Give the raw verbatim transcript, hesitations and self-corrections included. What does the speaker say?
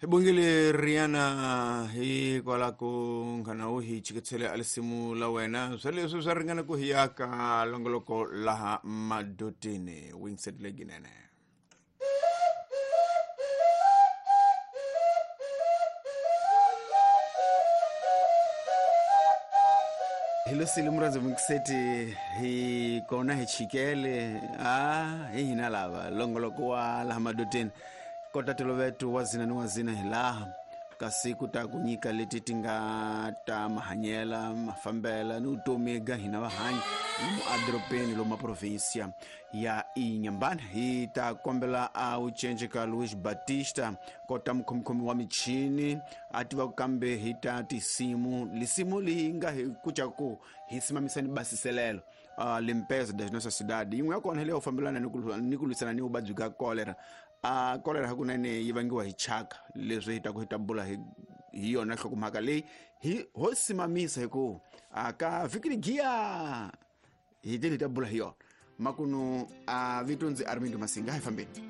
Hi bongile Riana hi kwala ku nghana wu hi chiketsele a lisimu la wena swa leswi swa ringana ku hi ya ka longoloko laha madotini wingset leginene. Hi losile murhandzi Wingset hi kona hi chikele a hi hina lava longoloko wa laha madotini kota toloveto wa zina ni wa zina hi laha kasi ku ta ku nyika leti ti nga ta mahanyela mafambela ni vutomi ga hina vahanyi lomu adorobeni lomu provinsia ya Inhambane. Hi ta kombela a wu cence ka Luis Batista kota mukhomikhomi wa michini a tiva kambe hi ta tisimu lisimu leyi nga hi kuca ku hi simamisa ni basiselelo uh, limpeza das nossa cidade yin'we ya kona hi leyo fambelana ni ku ni ku lwisana ni vuvabyi bya cholera. A cholera hakunene yi vangiwa hi chaka leswi hi ta ku hi ta bula hi hi yona nhlokomhaka leyi hi ho simamisa hi ku a ka vhiki giya hi tele hi ta bula hi yona makunu a vito ndzi Armindo Masinga hi fambeni.